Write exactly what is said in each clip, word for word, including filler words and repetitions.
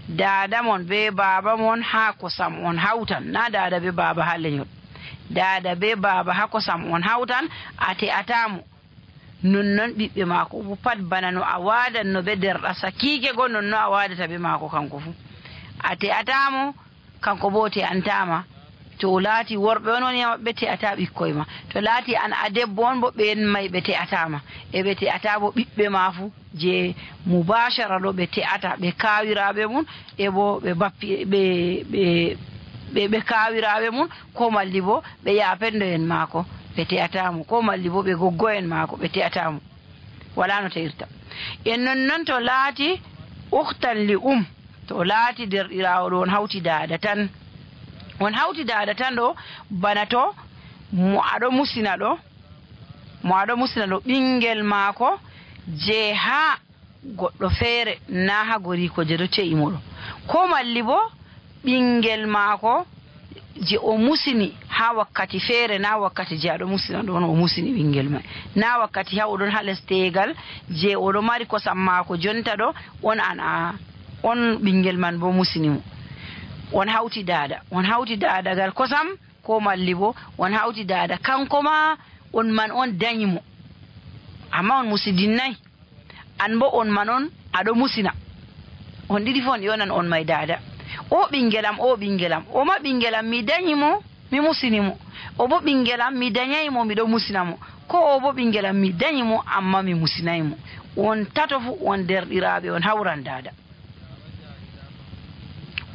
Daada mon bee baaba mon haa kosam on hawtan, naa daada bee baaba haa lenyol. Daada bee baaba haa kosam on hawtan, a te'ataa mo. Nonnon ɓiɓɓe maako fuu pat, bana no a waadanno bee deerɗa sakiike go, nonnon a waadata bee maako kaŋko fuu. A te'ataa mo, kaŋko boo o te'antaa ma. To o laati worɓe on woni e maɓɓe, te'ataa ɓikkoy ma. To laati an a debbo on boo, ɓeen may ɓe te'ataa ma. E ɓe te'ataa boo ɓiɓɓe ma fuu, jey mubaashara ɗo ɓe te'ata, ɓe kaawiraaɓe mum, e boo ɓe bappi, ɓe, ɓe, ɓe, ɓe kaawiraaɓe mum, koo malli boo ɓe yaapenndo en maako, ɓe te'ataa mo, koo malli boo ɓe goggo en maako, ɓe te'ataa mo. Walaa no te'irta. E nonnon to laati ukhtan li um, to laati deerɗiraawo ɗo on hawti daada tan. On hawti daada tan ɗo, bana to mo aɗo musina ɗo, mo aɗo musina ɗo ɓiŋngel maako je haa goɗɗo feere, naa haa goriiko je ɗo te'i mo ɗo. Koo malli boo ɓiŋngel maako je o musini haa wakkati feere, naa wakkati je aɗo musina ɗo on o musini ɓiŋngel may. Naa wakkati haa o ɗon haa les teegal je o ɗo mari kosam maako jonta ɗo, on an a, on ɓiŋngel man boo musini mo. On hawti daada, on hawti daada gal kosam, koo malli boo on hawti daada kaŋko ma, on man on danyi mo. Ammaa on musidinnaay. An boo on man on aɗo musina. On ɗiɗi fuu on ƴoonan on may daada. O ɓiŋngel am, o ɓiŋngel am. O ma ɓiŋngel am mi danyi mo, mi musini mo. O boo ɓiŋngel am mi danyaay mo, mi ɗo musina mo. Koo o boo ɓiŋngel am mi danyi mo, ammaa mi musinaay mo. On tato fuu on deerɗiraaɓe, on hawran daada.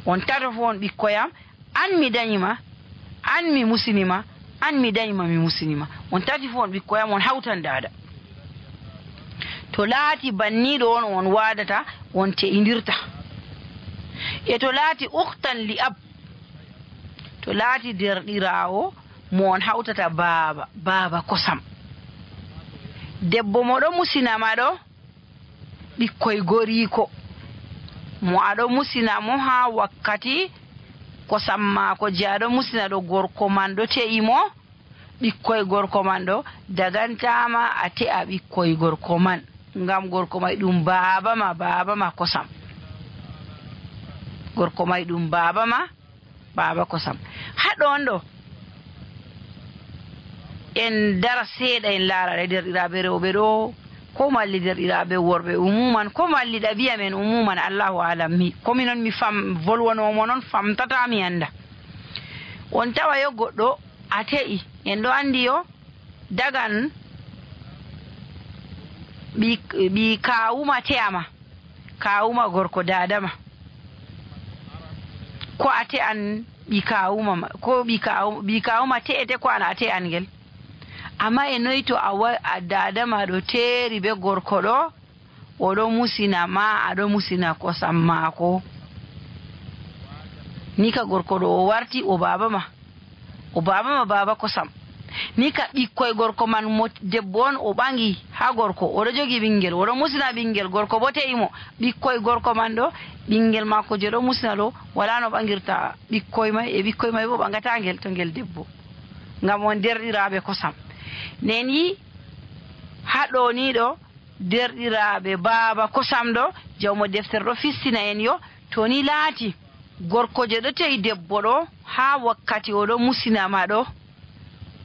On tato fuu on ɓikkoy am, an mi danyi ma, an mi musini ma, an mi danyi ma, mi musini ma. On tati fuu on ɓikkoy am, on hawtan daada. To laati banniiɗo on, on waadata, on te'indirta. E to laati ukhtan li ab, to laati deerɗiraawo mo on hawtata baaba, baaba kosam. Debbo mo ɗo musina ma ɗo, ɓikkoy goriiko. Mo aɗo musina mo haa wakkati kosam maako je aɗo musina ɗo gorko man ɗo te'i mo, ɓikkoy gorko man ɗo dagantaa ma a te'a ɓikkoy gorko man. Ngam gorko may ɗum baaba ma, baaba ma kosam. Gorko may ɗum baaba ma, baaba kosam. Haa ɗon ɗo, en dara seeɗa, en laara ɗe, deerɗiraaɓe rewɓe ɗo, ko malli deerɗiraaɓe worɓe umuman, ko malli ɗabi'a men umuman, Allahu aalam. Mi, ko minon mi fam-, volwanoo mo non, famtataa, mi annda. On tawa yo goɗɗo a te'i, en ɗo anndi yo dagan ɓi, ɓi kaawuma te'a ma. Kaawuma gorko daada ma. Ko a te'an ɓi kaawuma ma, ko ɓi kaawu-, ɓi kaawuma te'ete, ko an a te'an ngel. Ammaa e noy to a wa-, a daada ma ɗo teeri bee gorko ɗo, o ɗo musina ma, a ɗo musina kosam maako. Ni ka gorko ɗo o warti o baaba ma. O baaba ma, baaba kosam. Ni ka ɓikkoy gorko man mo debbo on o ɓaŋgi haa gorko, o ɗo jogi ɓiŋngel, o ɗo musina ɓiŋngel, gorko boo te'i mo. Ɓikkoy gorko man ɗo, ɓiŋngel maako je ɗo musina ɗo, walaa no ɓaŋgirta ɓikkoy may, e ɓikkoy may boo ɓaŋgataa ngel to ngel debbo. Ngam on deerɗiraaɓe kosam. Nen yi haa ɗo ni ɗo, deerɗiraaɓe baaba kosam ɗo, jawmo deftere ɗo fistina en yo, to ni laati gorko je ɗo te'i debbo ɗo, haa wakkati o ɗo musina ma ɗo,